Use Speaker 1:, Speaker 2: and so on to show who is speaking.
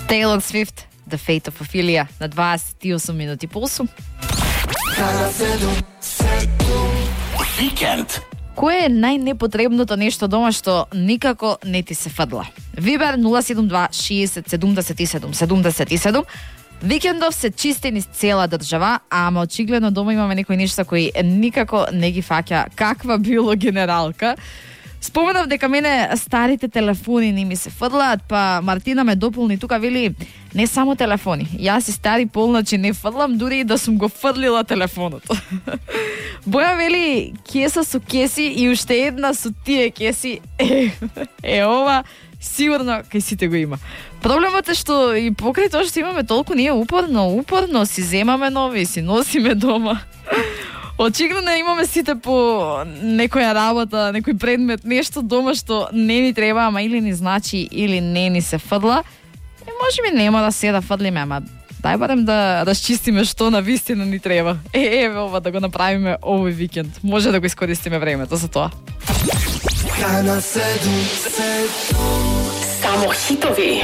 Speaker 1: Taylor Swift, The Fate of Ophelia, на 28 минути по 8.
Speaker 2: Викенд.
Speaker 1: Кое е најнепотребното нешто дома што никако не ти се фадла? Вибер 072 60 77 77. Викендов се чисти низ цела држава, ама очигледно дома имаме некои нешта кои никако не ги фаќа каква било генералка. Споменав дека мене старите телефони не ми се фрлаат, па Мартина ме дополни тука, вели не само телефони. Јас и стари полначи не фрлам, дури и да сум го фрлила телефонот. Боја вели кеса со кеси и уште една со тие кеси. Ова сигурно кај сите го има. Проблемот е што и покрај тоа што имаме толку ние упорно си земаме нови, си носиме дома. Очигледно имаме сите по некоја работа, некој предмет, нешто дома што не ни треба, ама или ни значи, или не ни се фрла. И можеби нема да се да фрлиме, ама дај барем да расчистиме што на вистина ни треба. Еве ова да го направиме овој викенд. Може да го искористиме времето за тоа.
Speaker 3: Само хитови.